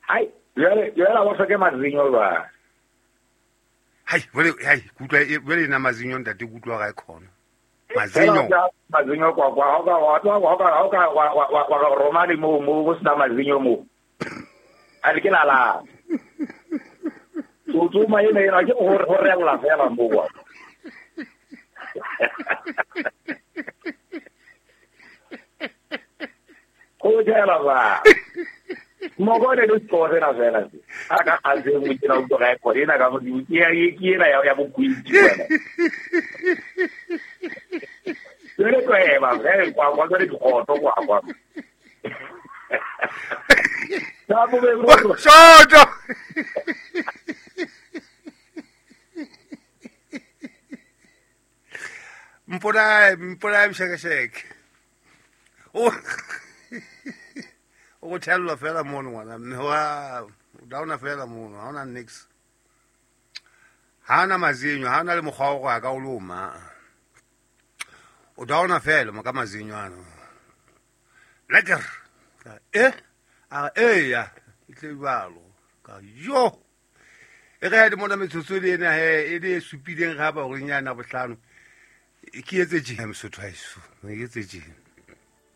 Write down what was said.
Hai, jwale jwale ba hloke mazinyo ba. Hai, jwale hai, kutlwa jwale na mazinyo ntate kutlwa ga e khona. Mazinyo. Mazinyo kwa kwa ha ka wa wa wa ka wa wa wa roma le mo mo go sna mazinyo mo. A le ke la la. Tso ma ena ena ke go go rela fela mo kwa. Go jela ba. Moko ne le sekolo sena fela se. A ka a se mo tsena o tloga e khona ena ka mo ke ya ke ena ya bokwitsi wena. Jwale tweba ge kwa kwa jwale dikgoto kwa kwa. Sa bo be bro. Soto. Mpolae mshekesheke. O go thellwa fela mono ngwana mme wa o downa fela mono, ha ona nix. Ha ona mazinyo, ha ona le mokgwa wa go ya ka o loma. O downa fela mo ka mazinyo ano. Lekker. A e ya, e tle jwalo. Ka yo. E re di mona metsotso le ena he e le supileng ga ba gore nyana bohlano. Ke etse tje Mosotho haeso. Ke etse tje.